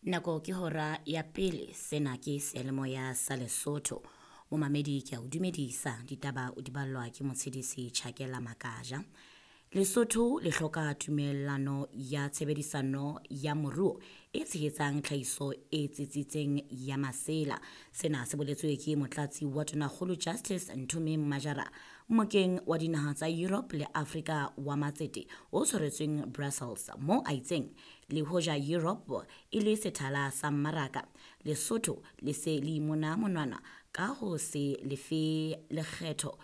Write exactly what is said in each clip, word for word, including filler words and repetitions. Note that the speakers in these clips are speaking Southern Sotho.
Nako ke hora ya pele, sena ke seyalemoya sa Lesotho. Momamedi ke a o dumedisa, ditaba o di ballwa ke Motshedisi Chakela Makaja. Lesotho le hloka tumellano ya tshebedisano ya moruo e tshehetsang tlhahiso e tsitsitseng ya masela. Sena se boletswe ke motlatsi wa Tonakgolo Justice Nthomeng Majara mmokeng wa dinaha tsa Europe le Afrika wa matsete o tshwaretsweng Brussels moo a itseng le hoja Europe e le sethala sa mmaraka, Lesotho le se le imona monwana ka ho se lefe lekgetho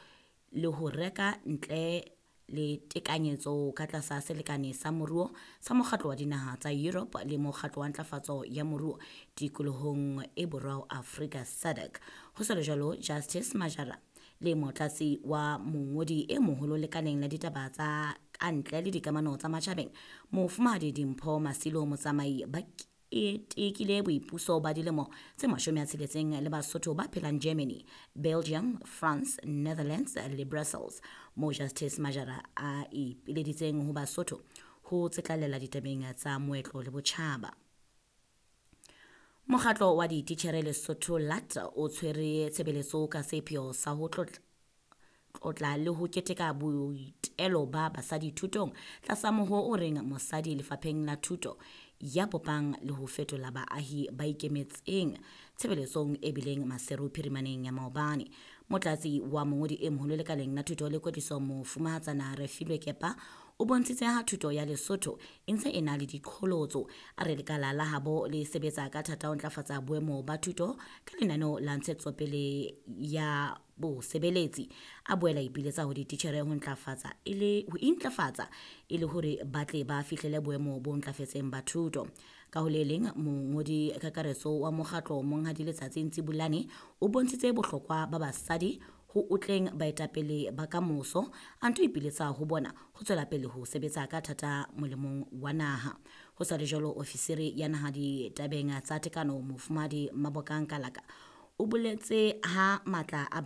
le ho reka ntle le tekanyetso ka tlasa selekane sa moruo sa mokgatlo wa dinaha tsa Europe le mokgatlo wa ntlafatso ya moruo tikolohong e borwa ho Afrika SADC. Ho sa le jwalo, Justice Majara le motlatsi wa mongodi e moholo lekaleng la ditaba tsa kantle le dikamano tsa matjhabeng Mofumahadi Dimpho Masilo Motsamai ba ketekile boipuso ba dilemo tse mashome a tsheletseng le Basotho ba phelang Germany, Belgium, France, Netherlands le Brussels moo Justice Majara a ipileditseng ho Basotho ho tsetlallela ditabeng tsa moetlo le botjhaba. Mokgatlo wa dititjhere Lesotho L A T o tshwere tshebeletso ka sepheo sa ho tlotla tlotla le ho keteka boitelo ba basadi thutong tlasa mohoo o reng mosadi lefapheng la thuto ya bopang le ho fetola baahi ba ikemetseng tshebeletsong e bileng Maseru phirimaneng ya maobane. Motlatsi wa mongodi e moholo lekaleng la thuto le kwetliso Mofumahatsana Refilwe Kepa o bontshitse ha thuto ya Lesotho e ntse e na le diqholotso. A re lekala la habo le sebetsa ka thata ho ntlafatsa boemo ba thuto ka lenaneo la ntshetsopele ya bosebeletsi. A boela ipiletsa ho dititjhere ho ntlafatsa e le ho intlafatsa e le hore ba tle ba fihlele boemo bo ntlafetseng ba thuto. Ka ho le leng, mongodi kakaretso wa mokgatlo Monghadi Letsatsi Ntsibulane o bontshitse bohlokwa ba basadi ho otleng baetapele ba kamoso, a nto ipiletsa ho bona ho tswela pele ho sebetsa ka thata molemong wa naha. Ho sa le jwalo, ofisiri ya naha ditabeng tsa tekano Mofumahadi Mabokang Kalaka o boletse ha matla a